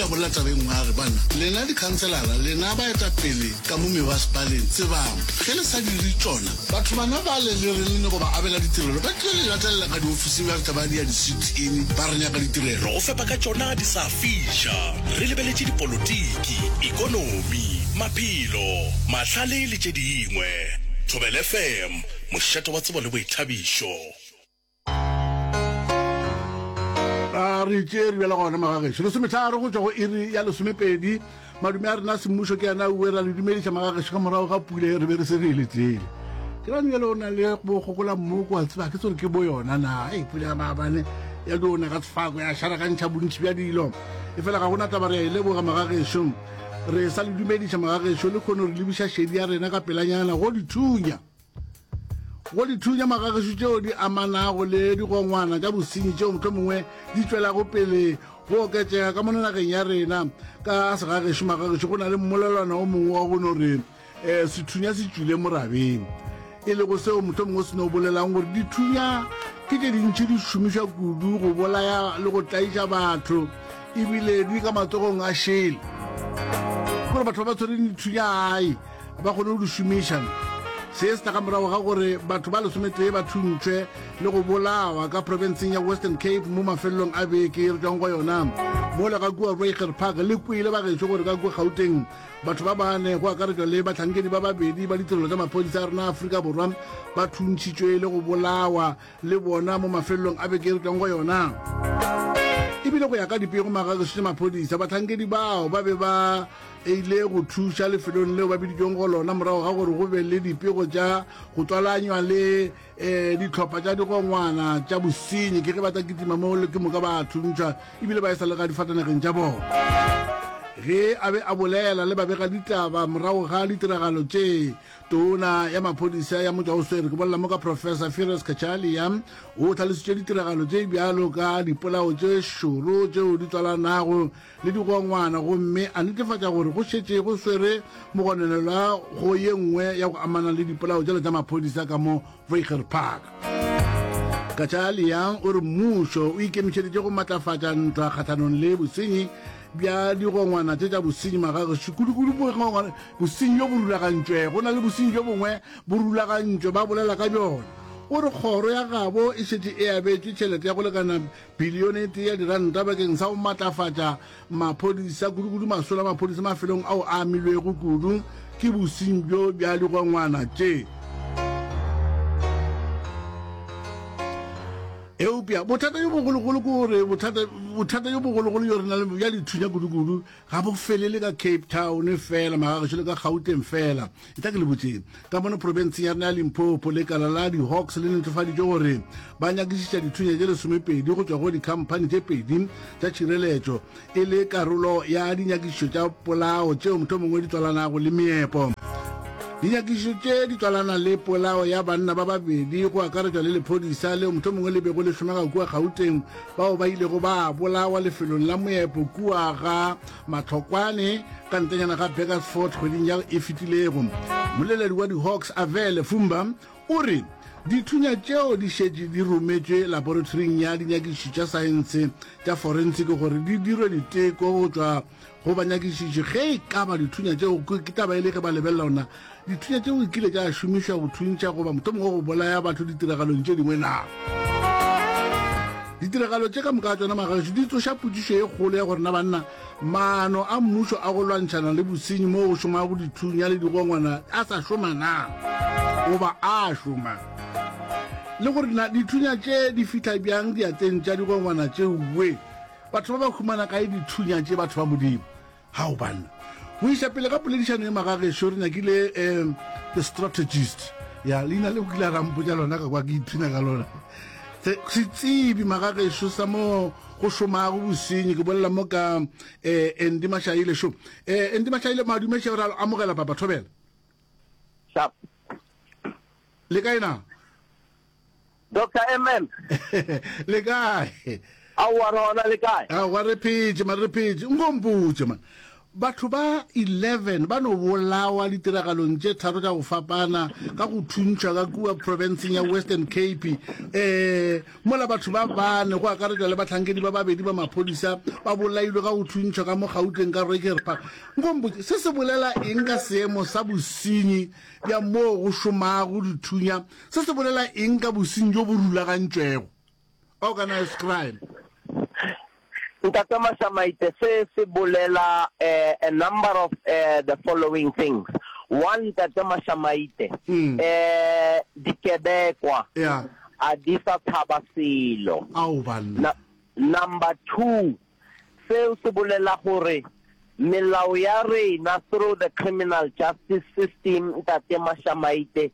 A bolela taba e nngwe a re, Banna, lena dikhanselara, lena baetapele ka mo mebasepaleng, tsebang, ge le sa dire tšona, batho bana bale le reng le nyako ba abela ditirelo, ba tlilo le latelela ka diofising ba fihla ba dia di-sit-in ba re nyaka ditirelo. Re go fepa ka tšona di sa fiša. Re lebeletše dipolotiki, ekonomi, maphelo, mahlale le tše dingwe. Thobela FM, mošate wa tsebo le boithabišo. A re tšee re bjala gona magagešo. Lesometharo go tšwa go iri ya lesomepedi. Madume a rena a semmušo ke ana uwe ra le dumediša magagešo ka morago ga pula e re be re se re e letele. Ke rane bjale o na le bogogola mmoko wa tseba ke tsore ke bo yona na. Ei pula ya maabane ya dio na ka sefako ya šarakantšha bontši bja dilo. E fela ga gona taba re a e leboga magagešo. Re sa le dumediša magagešo le kgono re lebiša šedi ya rena ka pelanyana go dithunya. Go dithunya magagešo tšeo di amanago le digongwana tša bosenyi tšeo mohlomongwe di tšwelago pele go oketšega ka mono nageng ya rena. Ka segagešo magagešo go na le mmolelwana o mongwe wa go no re um sethunya se tšwile morabeng, e lego seo mohlomongwe se no bolelang gore dithunya ke tše dintši di šomišwa kudu go bolaya le go tlaiša batho ebile di ka matsogong a šele gore batho ba ba tshwereng dithunya ai ba kgone go di šomiša. Se se tla ka morago ga gore batho ba lesometee ba thuntšwe le go bolawa ka profenseng ya Western Cape mo mafelelong a beke e re tšwang go yona. Mola ka kua Reiger Park le kwele bagešo gore ka kua Gauteng batho ba bane go akaretšwa le bahlankedi ba babedi ba ditirelo tša maphodisa a rena a Afrika Borwa ba thuntšhitšwe le go bolawa le bona mo mafelelong a beke e re tšwang go yona. Ebile go ya ka dipego magagešo tša maphodisa bahlankedi bao ba be ba e ile go thuša lefelong leo ba biditšweng go lona morago ga gore go be le dipego tša go tswalanywa le um dihlopha tša digongwana tša bosenyi. Ke ge ba tla kitima mo ke moka ba thuntšhwa ebile ba e sa le ga difatanageng tša bona. Ge a be a bolela le babegaditaba morago ga ditiragalo tše, tona ya maphodisa ya motšwaoswere ke bolela mo ka Professor Firoz Cachalia o hlalositše ditiragalo tše bjalo ka dipolao tše šoro tšeo di tswalanago le digongwana gomme a netefatša gore go šetše go swere mogononelwa go ye nngwe ya go amana le dipolao tšela tša maphodisa ka mo Reiger Park. Cachalia o re mmušo o ikemišeditše go matlafatša ntwa kgahlanong le bosenyi bja digongwana tše tša bosenyi magagešo, kudukudu bosenyi bjo bo rulagantšwego. Go na le bosenyi bjo bongwe bo rulagantšwe, ba bolela ka bjona. O re kgoro ya gabo e šetše e abetšwe tšhelete ya go lekana Bilione e tee ya diranta bakeng sa go matlafatša maphodisa, kudukudu masolo a maphodisa mafelong ao a amilwego kudu ke bosenyi bjo bja digongwana tše. Eupša bothata bjo bogologolo ke gore bothata bothata bjo bogologolo bjo re na le bja dithunya kudukudu Ga bo felele ka Cape Town fela, magagešo le ka Gauteng fela. E tla ke le botšeng, ka mono profenseng ya rena ya Limpopo, lekala la di-Hawks le netefaditše gore ba nyakišiša dithunya tše lesomepedi go tšwa go dikhamphani tše pedi tša tšhireletšo e le karolo ya dinyakišišo tša polao tšeo mohlomongwe di tswalanago le meepo. Dinyakišišo tše di tswalana le polao ya banna ba babedi go akaretšwa le lephodisa leo mohlomongwe le bego le šomega kua Gauteng bao ba ilego ba bolawa lefelong la moepo kua ga Matlhokwane ka ntlenyana ga Burgersfort kgweding ya e fetilego. Mmoleledi wa di-Hawks Avele Fumba o re dithunya tšeo di šetše di rometšwe laboratoring ya dinyakišišo tša saense tša forensic gore di dirwe diteko go tšwa go banyakišiši ge e ka ba dithunya tšeo ke taba e le ge ba lebelela gona Dithunya tšeo di kile tša šomišwa go thuntšha goba mohlomongwe go bolaya batho ditiragalong tše dingwe na? Ditiragalo tše ka moka ga tšona magagešo di tsoša potšišo e kgolo ya gore na banna maano a mmušo a go lwantšhana le bosenyi moo go šomago dithunya le digongwana a sa šoma na goba a šoma, le gore na dithunya tše di fihla bjang diatleng tša digongwana tšeoe. Batho ba ba humana kae dithunya tše batho ba Modimo? Hao banna. Go iša pele ga poledišano ye magagešo re nyakile um the strategist. Ya leina le o kile a rampotša lona ka kwa ke ipshina ka lona. Setsebi magagešo sa mo go šomago bosenyi ke bolela mo ka um Andy Mashaile šo. Um Andy Mashaile madume še re amogela papa thobela. Sharp. Le kae na? Doctor MM. Le kae? Aowa re gona le kae? Aowa re phetše man re phetše. Nko mpotše man. Batho ba 11 ba no bolawa ditiragalong tše tharo tša go fapana ka go thuntšhwa ka kua profenseng ya Western Cape, um mola batho ba bane, go akaretšwa le bahlankedi ba babedi ba maphodisa, ba bolailwe ka go thuntšhwa ka mo Gauteng ka Reiger Park. Nko mpotše, se se bolela eng ka seemo sa bosenyi bja moo go šomago dithunya? Se se bolela eng ka bosenyi bjo bo rulagantšwego, organised crime? Ntate Mashamaite, se se bolela a number of the following things. One, Ntate Mashamaite, dikebekwa a di sa tshaba selo. Number 2, seo se bolela gore Melao ya rena through the criminal justice system Ntate Mashamaite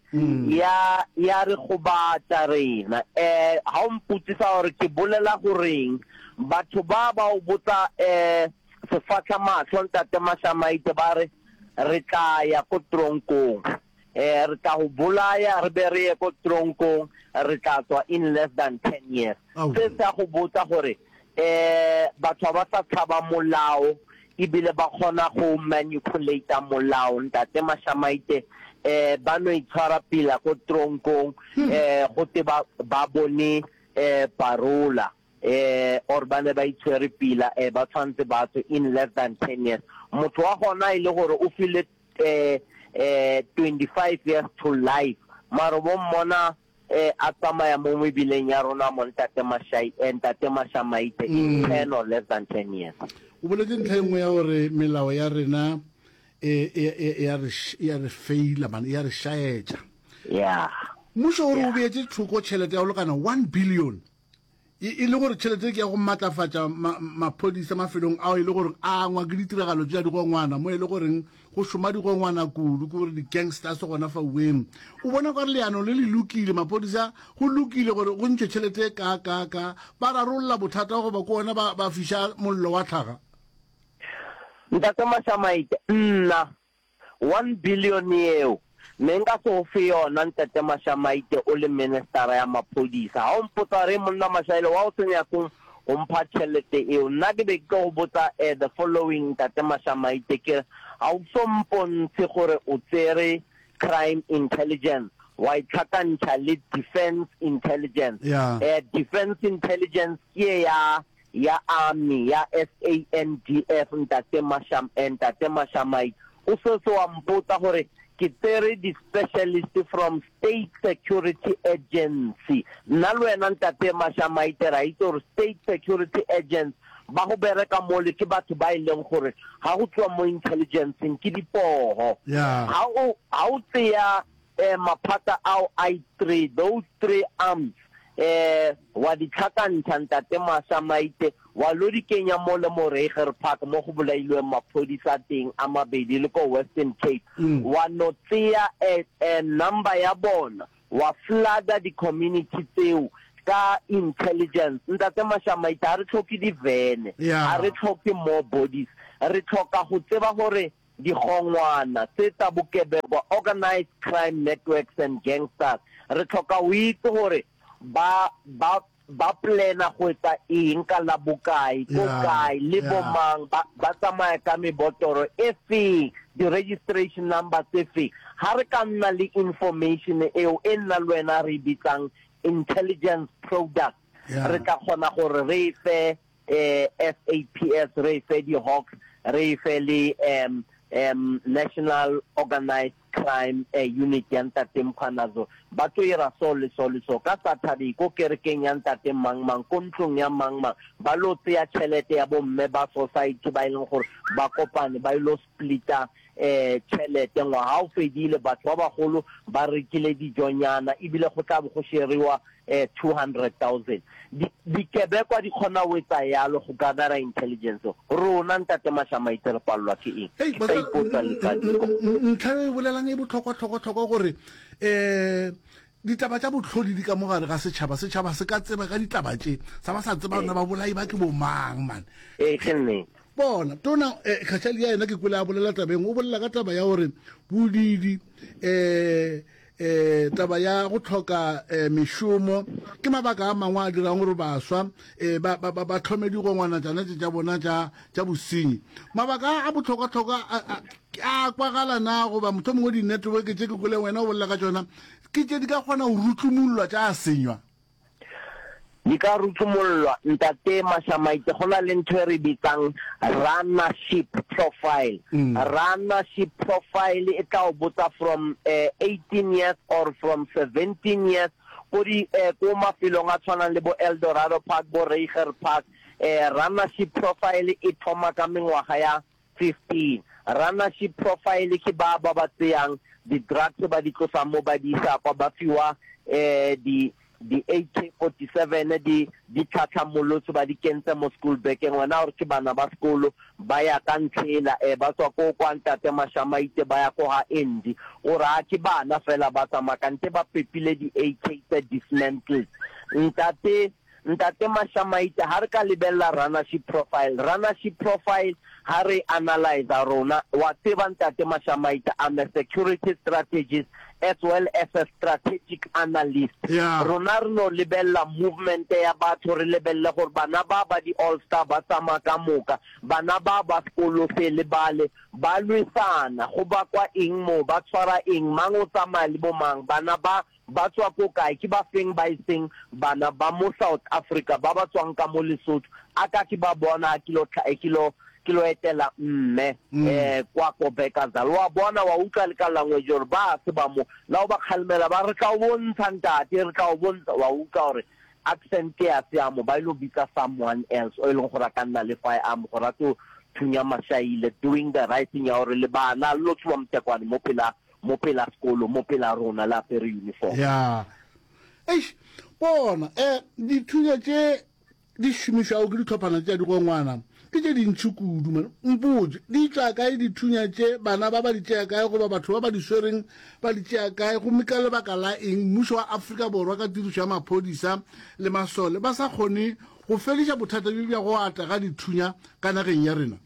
ya ya re gobatša rena. Eh ha o mpotsisa gore ke bolela goreng, batho ba ba o botsa eh sefahla mahlo Ntate Mashamaite ba re re tla ya ko tronkong. Eh, re tla go bolaya re be re ye ko tronkong, re tla tswa in less than 10 years. Se se a go botsa gore eh batho ga ba sa tshaba molao ebile ba kgona go manipulate molao. Ntate Mashamaite eh ba no itshwara pila ko tronkong eh go te ba ba bone eh parola eh or ba ne ba itshwere pila eh ba tshwanetse ba tswe in less than 10 years. Motho wa gona e le gore o file eh eh 25 years to life mara bo mmona eh a tsamaya mo mebileng ya rona mo ntate Mashai eh, ntate Mashamaite in 10 or less than 10 years. O boletše ntlha e nngwe ya gore melao ya rena e e e e a re e a re feila man e a re šaetša. Yeah. Mmušo o re o beetše thoko tšhelete ya go lekana 1 billion E, e le gore tšhelete ke ya go matlafatša ma, maphodisa mafelong ao e le gore a angwa ke ditiragalo tša digongwana, mo e le goreng go šoma digongwana kudu, ke gore di-gangsters gona fa weng. O bona kare leano le le lokile, maphodisa go lokile gore go ntšhwe tšhelete e ka ka ka, ba rarolla bothata goba ke ona ba, ba fiša mollo wa tlhaga? Ntate Mashamaite, Nna One billion yeo ne nka se go fe yona Ntate Mashamaite o le ministera ya maphodisa. Ha o mpotsa gore monna Mashaile wa o se nyake go mpha tšhelete eo, nna ke be ke tlo go botsa the following Ntate Mashamaite ke re ha o so mpontshe gore o tsere crime intelligence wa e tlhakantšha le defense intelligence. Yeah. Defense intelligence ke ya ya Army ya SANDF Ntate Masham eh, Ntate Mashamai o setse wa mpotsa gore ke tsere di specialist from State Security Agency. Nna le wena Ntate Mashamaite ra itse gore State Security Agency ba go bereka mole ke batho ba e leng gore ga go tliwa mo intelligenceng ke dipoho. Yeah. Ga o ga o tseya eh, maphata ao a three, those three arms, eh, wa di tlhakantšha Ntate Masha Maite, wa lo di kenya mo le mo Reiger Park mo go bolailweng maphodisa teng a mabedi le ko Western Cape, wa no tseya eh, eh, number ya bona, wa flooda di-community tseo ka intelligence. Ntate Masha Maite, ga re tlhoke divene, Yeah. ga re tlhoke more bodies, re tlhoka go tseba gore Digongwana tse tsa bokebekwa, organised crime networks and gangsters, re tlhoka go itse gore ba ba ba plana go etsa eng ka la bokae, ko kae, le bo mang, ba ba tsamaya ka mebotoro e feng, di-registration number tse feng. Ha re ka nna le information eo e nna le wena re e bitsang intelligence product, re tla kgona gore re e fe SAPS, re e fe di-Hawks, re e fe le um, um, National Organised Crime Unit ya Ntate Mkhwanazo. Ba tlo ira so le so le so ka Saturday ko kerekeng ya Ntate mang mang, ko ntlong ya mang mang, ba lo tseya tšhelete ya bomme ba society ba e leng gore ba kopane ba ilo splitta um tšhelete. Ngwaga o fedile, batho ba bagolo ba rekile dijonyana ebile go tla bo go sheriwa eh 200,000. Di, dikebekwa di kgona go etsa yalo go gathera intelligence. Rona Ntate Mashamaite re palelwa ke eng? Hei, Ke sa ipotsa le ka diko. Ntlha e bolelang e bohlokwa-hlokwa-hlokwa gore um ditaba tša bohlodi di ka mo gare ga setšhaba. Setšhaba se ka tseba ka ditaba tše, sa ba sa tseba na babolai ba ke bomang man. Ee, ke nnete. Bona, tona eh, Kgatšhali ya yena ke kwele a bolela tabeng, o bolela ka taba ya gore bodidi eh. um taba ya go hloka um mešomo ke mabaka a mangwe a dirang gore baswa um ba, ba, ba, ba hlome digongwana tšana tše tša bona tša, tša bosenyi. Mabaka a a bohlokwahlokwa a, a, a kwagala na goba mohlomongwe di-network tše ke kweleng wena o bolela ka tšona ke tše di ka kgona go rutlumollwa tša senywa? Di ka rutlumollwa, Ntate Mashamaite, go na le ntho e re bitsang runnership profile. Runnership profile e tla o botsa from 18 years or from 17 years ko di ko mafelong a tshwanang le bo Eldorado Park, bo Reiger Park. Runnership profile e thoma ka mengwaga ya 15. Runnership profile ke ba ba ba tseyang di drugs ba di tlosang mo ba di isa kwa ba fiwa di di AK 47 di di tlhatlhamolotswe ba di kentse mo school bag-eng wena o re ke bana ba sekolo ba ya ka ntlhela ba tswa ko kwa ntate Mashamaite ba ya ko ga Andy o re a ke bana fela ba tsamaya kante ba pepile di AK tse dismantled ntate Ntate Mashamaite, ha re ka lebella runnership profile, runnership profile ha re e analyser rona, wa tseba Ntate Mashamaite, I'm a security strategist as well as a strategic analyst. Yeah. Rona re no lebella movement ya batho, re lebelle gore bana ba ba di All Star ba tsamaya ka moka, bana ba ba sekolo se le bale ba lwesana, go bakwa eng mo, ba tshwara eng, mang o tsamaya le bo mang, bana ba Ba tswa ko kae? Ke ba feng ba e seng bana ba mo South Africa ba ba tswang ka mo Lesotho? A ka ke ba bona ha ke lo ke lo ke lo etela mme eh kwa ko Bekkersdal. Wa bona wa utlwa le ka language hore ba se ba mo. La o ba kgalemela ba re tla o bontsha ntate, re tla o bontsha. Wa utlwa hore accent ya se ya mo ba ilo bitsa someone else o e leng gore a ka nna le firearm gore a tlo thunya Mashaile doing the right thing ya hore le bana le lo tshuba motekwane mo pela mo pela sekolo, mo pela rona, le apere uniform. Ya. Eish, bona, eh, dithunya tše di šomišwago ke dihlophana tša digongwana ke tše dintši kudu, man. Mpotše, di tšwa kae dithunya tše? Bana ba ba di tšea kae, goba batho ba ba di swereng ba di tšea kae? Gomme ka lebaka la eng mmušo wa Afrika Borwa ka tirišo ya maphodisa le masole ba sa kgone go fediša bothata bjo bja go ata ga dithunya ka nageng ya rena?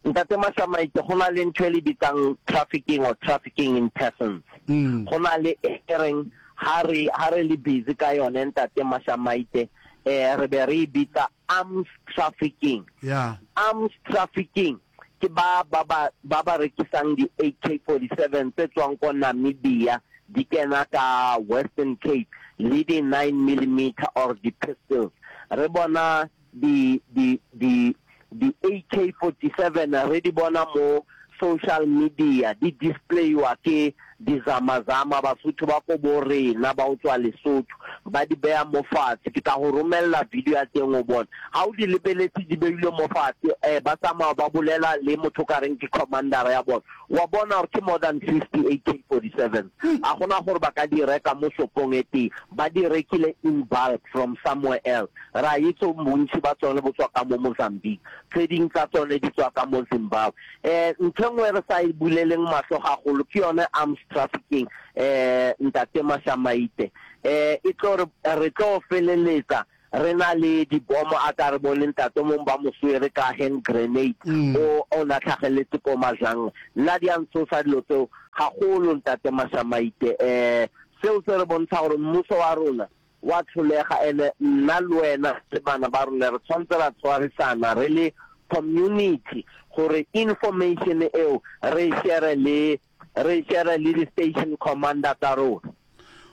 Ntate Mashamaite, go na le ntho e le bitsang trafficking or trafficking in persons. Go na le e reng ha re ha re le busy ka yone Ntate Mashamaite, eh re be re e bitsa arms trafficking. Yeah. Arms trafficking ke ba ba ba ba ba rekisang di AK-47 tse tswang ko Namibia di kena ka Western Cape le di 9 millimeter or di pistols. Re bona di di di di AK 47 re di bona mo social media di displayiwa ke di zamazama Basotho ba ko bo rena ba go tswa Lesotho ba di beya mo fatshe ke tla go romella video ya teng o bone ga o di lebeletse di beilwe mo fatshe eh ba tsamaya ba bolela le motho o ka reng ke commander ya bona wa bona gore ke more than 50 AK 47 a gona gore ba ka di reka mo shopong e tee ba di rekile in bulk from somewhere else Ra itse bontši ba tsone bo tswa ka mo Mozambique, tse ding tsa tsone di tswa ka mo Zimbabwe. Um ntho e nngwe e re sa e buleleng mahlo gagolo ke yone arms trafficking, um Ntate Mashamaite. Um e tlo re, re tlo feleletsa re na le dibomo a ka re bone ntate o mongwe ba mo swere ka hand grenade o o na tlhageletse ko Mazhanga. Nna di a ntshosa dilo tseo gagolo Ntate Mashamaite. Um seo se re bontsha gore mmuso wa rona wa tlholega ene nna le wena le bana ba rona re tshwanetse ra tshwarisana re le community gore information eo re e share le re e share le di station commander tsa rona.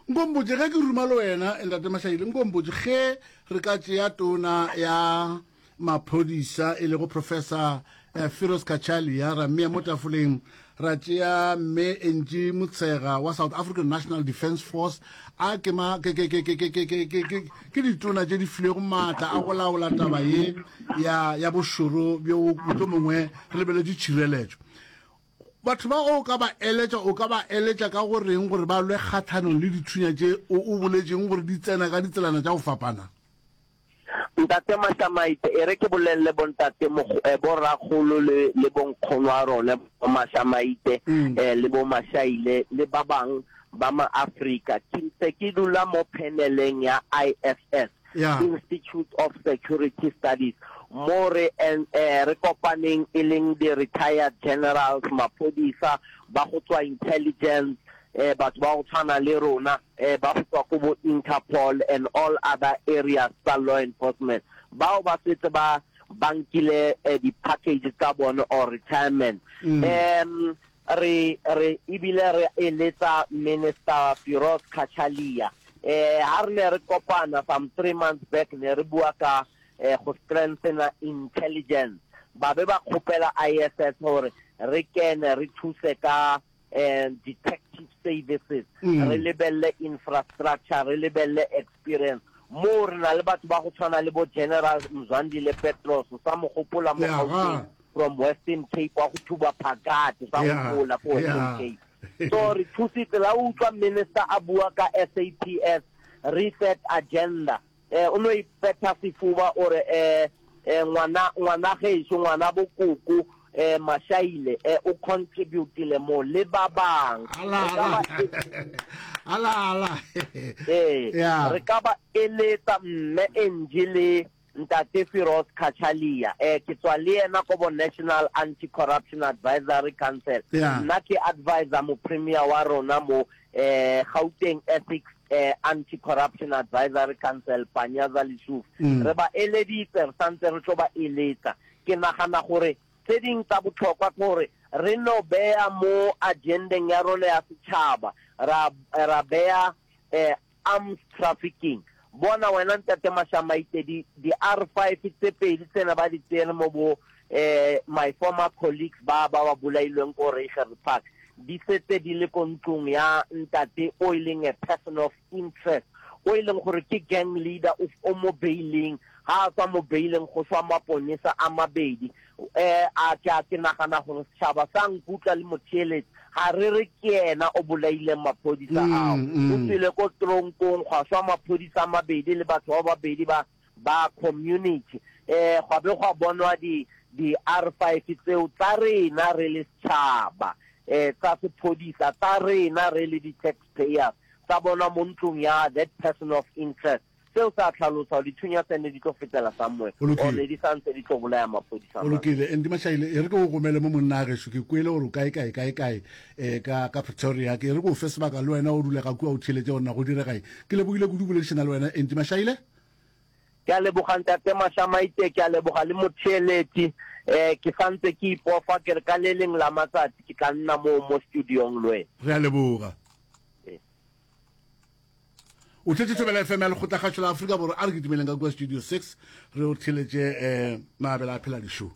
Nkompotše ge ke ruma le wena Ntate Mashaile, nkompotše ge re ka tšea tona ya maphodisa e lego Professor eh, Firoz Cachalia ra mmea mo tafoleng ra tšea mme Angie Motshega wa South African National Defence Force a ke ma ke ke ke ke ke ke ke ke ke ke ditona tše di filwego maatla a go laola taba ye ya ya bošoro bjo mohlomongwe re lebeletše tšhireletšo batho ba o ka ba eletša o ka ba eletša ka go reng gore ba lwe kgathanong le dithunya tše o o boletšeng gore di tsena ka ditselana tša go fapana Ntate Mashamaite, e re ke bolelele bontate eh, borakgolo le, le bonkgono a rone bo Mashamaite mm. eh, le bo Mashaile le ba bang ba ma-Afrika. Ke ntse ke dula mo paneleng ya ISS, yeah. Institute of Security Studies, mo re, eh, re kopaneng e leng di-retired generals, maphodisa ba go tswa intelligence. eh batho ba go tshwana le rona eh ba go tswa ko bo Interpol and all other areas tsa law enforcement bao ba setse ba ba nkile eh, di-package tsa bone or retirement um re re ebile re eletsa Minister Firoz Cachalia eh ha re ne re kopana some 3 months back ne re bua ka eh go strengthena intelligence ba be ba kgopela ISS gore re kene re thuse ka eh detective services re lebelle infrastructure re lebelle experience moo re na le batho ba go tshwana le bo General Mzwandile Petros o sa mo gopola mo Gauteng from Western Cape wa go thuba phakate sa gopola ko Western Cape so re thusitse la utlwa minister a bua ka SAPS reset agenda eh o no ipetha sefuba o re eh eh ngwana ngwana gešo ngwana bokoko eh Mashaile eh o contributile mo le ba bang ala ala ala ala eh re ka ba eletsa mme Angie le Ntate Firoz Cachalia, eh, ke tswa le yena ko bo National Anti-Corruption Advisory Council. Yeah. Nna ke advisor mo premier wa rona mo eh, Gauteng Ethics eh, Anti-Corruption Advisory Council, Panyaza Lesufi. Re ba eleditse, re santse re tlo ba eletsa. Ke nagana gore tse ding tsa botlhokwa ke gore re no beya mo agendeng ya rona ya setšhaba, ra, ra beya eh, Arms trafficking. Bona wena Ntate Mashamaite di di R5 tse pedi tsena ba di tsere mo bo eh my former colleagues ba ba ba bolailweng ko Reiger Park di setse di le ko ntlong ya ntate o e leng a person of interest o e leng gore ke gang leader o o mo bailing ha a tswa mo bailing go swa maponesa a mabedi Eh, a ke a ke nagana gore setšhaba sa nkutlwa le motheeletsi ga re re ke yena o bolaileng maphodisa ao. O tswile ko tronkong gwa swa maphodisa a mabedi le batho ba babedi ba ba community. Eh, gwa be gwa bonwa di di R5 tseo tsa rena re le setšhaba, eh, tsa sephodisa tsa rena re le di taxpayers tsa bonwa mo ntlong ya that person of interest. Seo se a hlalosa gore dithunya tse ne di tlo fetela somewhere Go lokile. or ne di sa ntse di tlo bolaya maphodisa Go mane. lokile. Andy Mashaile, e re ke go romele mo monna a gešo, ke kwele gore o kae kae kae kae eh, ka ka Pretoria. Ke e re ke o fe sebaka le wena o dule ga kua o theeletše gore na go direga eng. Ke lebogile kudu boledišana le wena Andy Mashaile. Ke a leboga Ntate Mashamaite, ke a leboga le motheeletši. Eh, ke sa ntse ke ipofa ke re ka le leng la matsatsi ke tla nna moo mo studiong le wena. Re a leboga. Ee. O tletše Thobela FM ya Lekgotlakgašo la Afrika Borwa. A re kitimeleng ka kua Studio 6 re o theletše um Maabela a phela dišo.